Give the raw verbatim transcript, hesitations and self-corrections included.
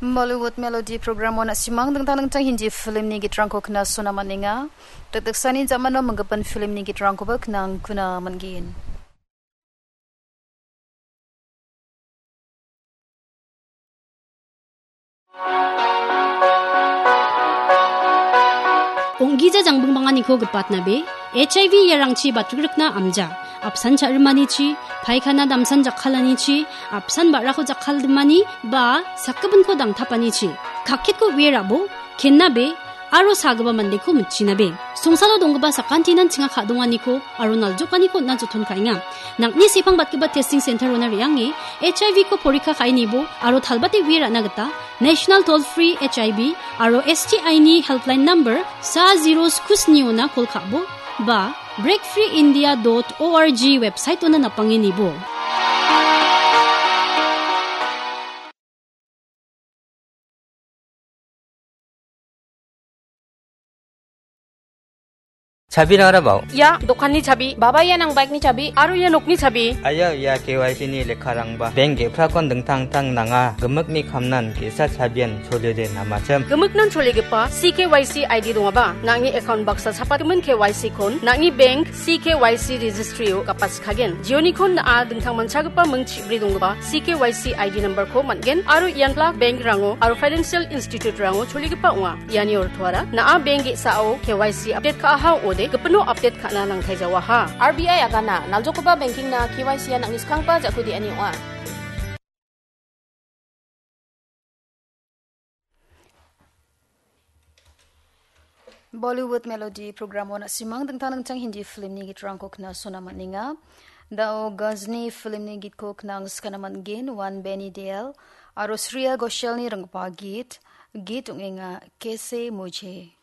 Bollywood Melody programo na·simang dingtang dingtang Hindi filmni gitrangko knasona man·enga. Dakdaksani jamano minggipa filmni gitrangkoba knangkuna man·gen. Ong·gija jangbingbanganiko gipatnabe, H I V iarangchi batrikrikna amja, apsan cha·rimanichi, paikana damsan jakkalanichi, apsan ba·rako jakkaldimani, ba sakgipinko dangtapanichi, kakketko uie rabo, kennabe, aro sagipa mandeko mitchinabe. Songsalo donggipa sakantinan chinga ka·donganiko aro naljokaniko on·na joton ka·enga. Nang·ni sepang batgipa testing center-ona re·ange H I V-ko porikka ka·e nibo aro talbate uie ra·na gita National Toll Free H I V aro S T I-ni helpline number sa zero sku sni-ona kol ka·bo ba break free india dot org website-ona napange nibo. Chabirang arabao. Ia dokanni chabi, baba ia nang bike-ni chabi, aro ia nokni chabi. Aya ia K Y C-ni lekkarangba. Bank ge·prakon dingtang dingtang nanga. Gimikni kamnan ge·sa chabian choliode namachim. Gimiknan choligipa C K Y C I D dongaba, nang·ni account baksa chapatgimin K Y C-kon, nang·ni bank C K Y C registry-o gapatskagen. Jionikon na·a dingtang manchagipa ming chibri donggipa C K Y C I D number-ko man·gen aro ian Black Bank-rango aro Financial Institute-rango choligipa ong·a. Iani ortoara na·a bank ge·sao K Y C update ka·aha ong·ode, gipino update ka·na nangtai jawaha. R B I agana, naljokoba banking-na K Y C-a nang·ni skanggipa ja·ku de·ani ong·a. Bollywood Melody programo na·simang dingtang dingtang Hindi filmni gitrangko knasona man·enga. Da·o Ghazni filmni gitko knangskana man·gen, One Benny Dale aro Shreya Ghoshalni ringgipa git, git ong·enga Kaise Mujhe.